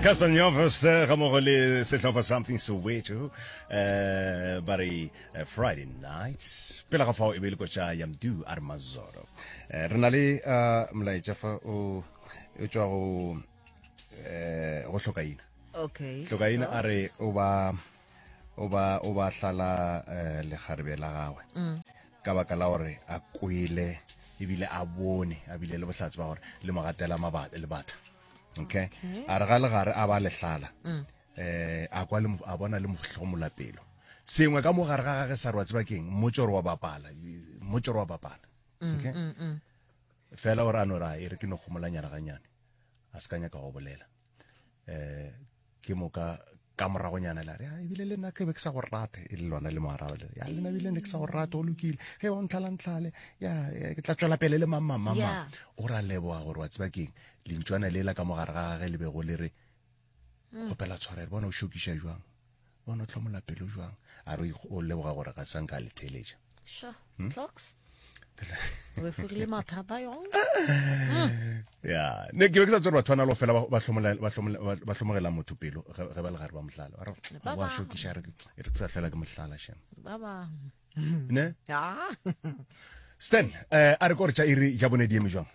Cassper Nyovest ga mmogo le sehlopha Samthing Soweto eh ba re eh, Friday nights pele ga fao e be le kotša ya Mdu a re Mazoro eh, re na le uh, molaetša fa o o tšwa go eh go hlokaina okay hlokaina a re o ba o ba o ba hlala eh, lekgarebe la gagwe mm. ka baka la gore a kwele ebile a bone a bile le bohlatse ba gore le mo gatela lebata okay a re ga legare a ba lehlala mm. eh a kwa le a bona le mohlomola pelo sengwe ka mo gare ga gage sa re wa tseba keng mmotse gore wa bapala mmotse gore wa bapala mm, okay mm, fela gore a no ra e re ke no gomolanyana ganyane a se ka nyaka go bolela eh ke moka ka moragonyana la re ya ebile le nna ke be ke sa go rate e le lona le mo araba le ya le nna ebile ne ke sa go rate o lokile ge ba ntlhala ntlhale ya ke tla tswela pele le mang mang mang mang o ra leboga gore wa tseba keng lentšwana lela ka mogare ga gage le bego le re mm. kgopela tshwarelo bona o šokiša jwang bona o tlhomola pelo jwang a re o leboga gore ga sanka a le theletša sure hmm? clocks o efogile mathata yong ya ne ke be ke sa tsere batho ba na le fela ba hlomogela motho pelo ge ba le gare ba mohlala ba re wa šokiša re e re ke sa hlela ke mohlala shem ba ba ne stan eh a re ko re tša iri ja bone di eme jwang?